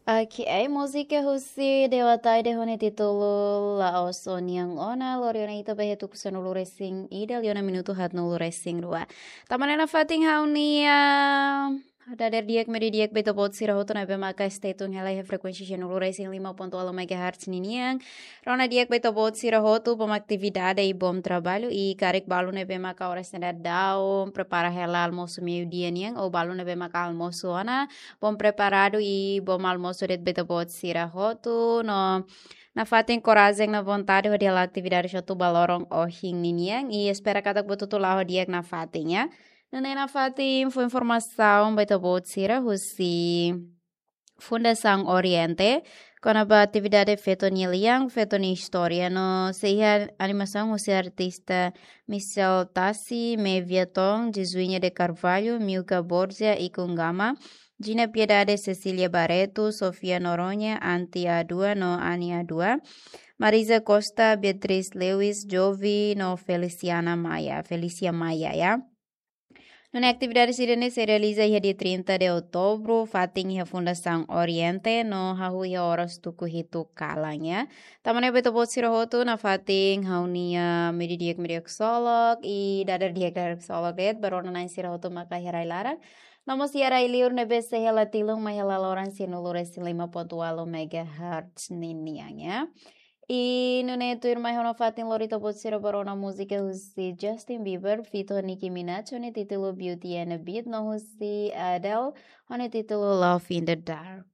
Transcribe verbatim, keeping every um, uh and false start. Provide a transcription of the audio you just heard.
Ok, múzika husi Dewa Taide ho nia títulu La'ós Ó-nian Ona, lori ona ita ba iha tuku sanulu-resin-ida, liu ona minutu haatnulu-resin-rua. Tanba ne'e nafatin ha'u-nia dadeer di'ak, media di'ak ba ita-boot sira hotu ne'ebé maka stay tune hela iha frekuénsia sanulu-resin-lima pontu ualu megahertz ninian. Rona di'ak ba ita-boot sira hotu, bom atividade i bom trabalho, i karik balu ne'ebé maka oras ne'e daudaun prepara hela almosu meiudia nian, ou balu ne'ebé maka almosu ona, bom preparadu i bom almosu de'it ba ita-boot sira hotu, no nafatin korajen no vontade hodi hala'o atividade hotu ba loron ohin ninian, i espera katak buat hotu la'o di'ak nafatin, ya. Nune'e nafatin fó informasaun ba ita-boot sira husi Fundasaun Oriente, kona-ba atividade feto nia lian, feto nia istória, no sei iha animasaun husi artista Michel Tassi, Mevia Tom, Jesuinha de Carvalho, Milka Borgia, Ikun Gama, Gina Piedade, Cecília Barreto, Sofia Noronha, Anti Adua no Ani Adua, Marisa Costa, Beatriz Lewis, Jovi no Feliciana Maia, Felícia Maia, ya. Nune'e atividade sira-ne'e sei realiza iha dia trinta de outubro, fatin iha Fundasaun Oriente, no hahú iha oras tuku hitu kalan, ya. Tanba ne'e ba ita-boot sira hotu nafatin ha'u-nia media di'ak, media di'ak ksolok, i dadeer di'ak, dadeer ksolok de'it ba rona-na'in sira hotu maka iha rai-laran. No mós iha rai-liur ne'ebé sei hela tilun mai hela loron sanulu-resin-lima pontu ualu megahertz ninian, ya. I nune'e tuirmai ha'u nafatin lori ita-boot sira ba rona múzika husi Justin Bieber, feat ho Nicki Minaj, ho nia títulu Beauty and a Beat, no husi Adele, ho nia títulu Love in the Dark.